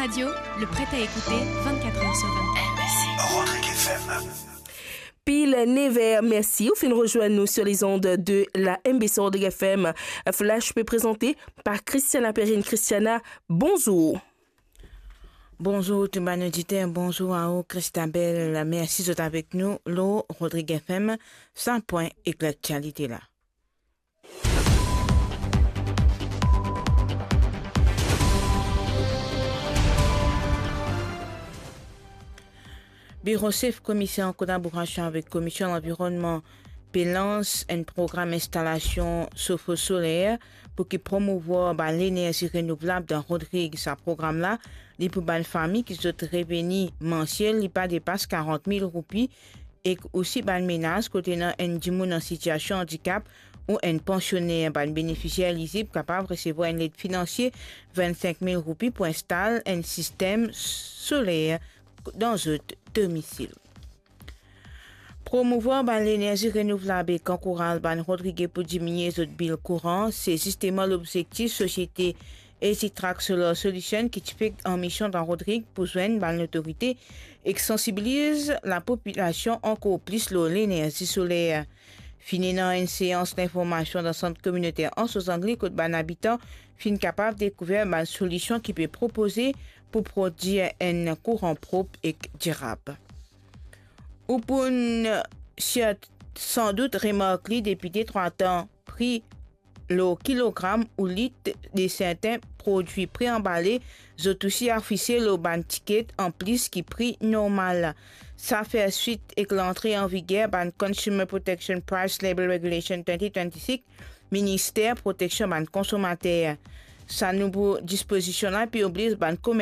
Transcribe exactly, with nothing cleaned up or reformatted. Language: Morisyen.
Radio, le prêt à écouter vingt-quatre heures sur vingt-quatre. Rodrigue F M. Pil nev er, mersi ou finn rezwenn nou sur les ondes de la M B C Rodrigue F M. Flash pe prezante par Christiana Perrine. Christiana, bonzour. Bonzour tou bann oditer, bonzour a ou Christabel. Mersi zot avek nou lor Rodrigue F M. Sa pwin ek laktialite la. Biro Sef Komiser an kolaborasion avek Komisyon Lanvironnman pe lans enn program instalasion sofo soler pou ki promouvwar bann lenerzi renouvlab dan Rodrig. Sa program la, li pou bann fami ki zot reveni mansiel li pa depas karant mil roupi, ek osi bann menaz kot ena enn dimoun an sitiasion andikap ou enn pansioner. Bann benefisier elizib kapav resevwar enn led finansie vinnsink mil roupi pou instal enn sistem soler dan zot domisil. Promouvwar bann lenerzi renouvlab ek ankouraz bann Rodrige pou diminie zot bil kouran, se zisteman lobzektif sosiete Easy Track Solar Solution ki ti pe an mision dan Rodrig pou zwenn bann lotorite ek sansibiliz lapopilasion ankor plis lor lenerzi soler. Finn ena enn seans linformasion dan sant kominoter Anse aux Anglais kot bann abitan finn kapav dekouver bann solision ki pe propoze pou prodwir enn kouran prop ek dirab. Ou pou sirtou sandout remark li depi de trwa tan, pri lor kilogram ou lit de sertin prodwi pre-anbale, zot osi afise lor bann tiket anplis ki pri normal. Sa fer swit ek lantre an viger bann Consumer Protection Price Label Regulation twenty twenty-six, Minister Proteksion Bann Konsomater. Sa nouvo dispozision la pe obliz bann komer-